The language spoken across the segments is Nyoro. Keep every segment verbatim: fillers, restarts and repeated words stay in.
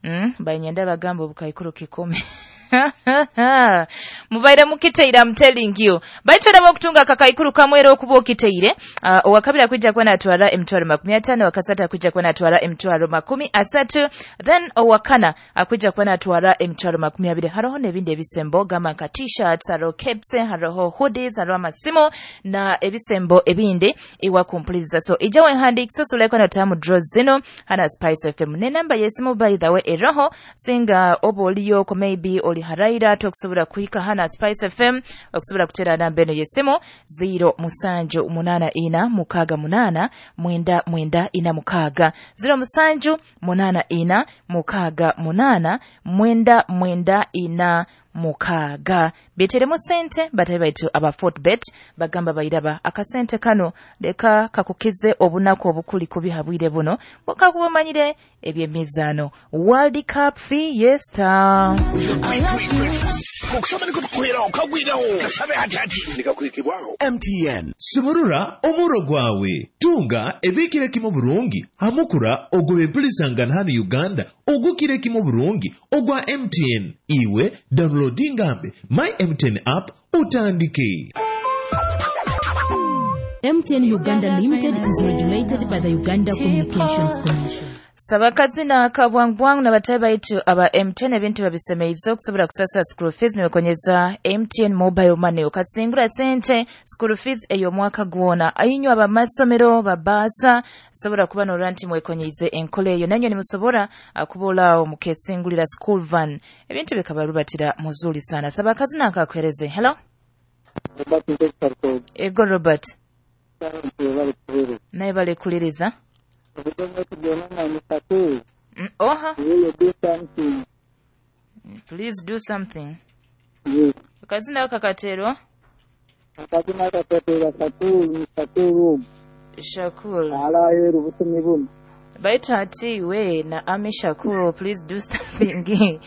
Mm, banyenda bagamba obukaikuru kikumi mubaire mukiteire, I'm telling you. Baitu era okutunga akakaikuru kamwe era okuba okiteire, uh, owakabiri akwijja kuba natwara emitwaro makumi ataano, owakasatu akwijja kuba natwara emitwaro makumi asatu, then owakana akwijja kuba natwara emitwaro makumi abiri. Haroho n'ebindi ebisembo gamba nka T-shirts, haroho caps, haroho hoodies, haroho amasimu na ebisembo ebindi iwakumpuliriza. So ija wehandiikisa osobole natamu draw zino hana Spice F M. Nenamba yesimu, by the way, eroho singa oba oliyoko, maybe oli haraira tokusobola kuhika hana Spice F M, okusobola kutera namba eno yesimu zero musanju munana ina mukaaga munana mwenda mwenda ina mukaaga, zero musanju munana ina mukaaga munana mwenda mwenda ina mukaaga. Beteremu sente batabi baitu aba Fortbet bagamba bairaba akasente kano leka kakukize obunaku obukuli kubiha bwire buno bukakuba omanyire ebyemizaano World Cup Fiesta. Okusoma niko tukuheraho kagwiraho kasabe hati hati nikakuhikibwaho M T N. Sumurura omuro gwawe, tunga ebikire kimu burungi hamukura ogw'empulisangana hano Uganda ogukire kimu burungi ogwa M T N. Iwe downloadingambe My M T N app utandike. M T N Uganda Limited is regulated by the Uganda Communications Commission. Sabakazina akabwangubwangu na batayi baitu aba M T N ebintu babisemeize okusobola kusasula school fees nibakonyeza M T N Mobile Money okasingura sente school fees ey'omwaka gwona. Ainywe abamasomero babaasa sobola kuba norora nti mwekonyeize enkola eyo nanywe nimusobora kubolaawo mukesingulira school van, ebintu bikabarubatira muzuri sana. Sabakazina akakwereze. Hello. Ego Robert, naye balekuliriza. Mm, oha please do something. Akazina kakaterwa. Akazina kakaterwa Shakur, Shakur. Shakur. Alaheru butumi buno. Baitu ati we na Ami Shakur, please do something.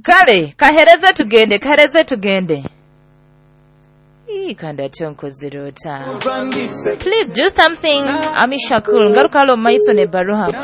Kale kahereze tugende, kahereze tugende. Ii, kandi ate onkozere ota? Please do something, Ami Shakur. Ngaruka halo maiso ne baruha.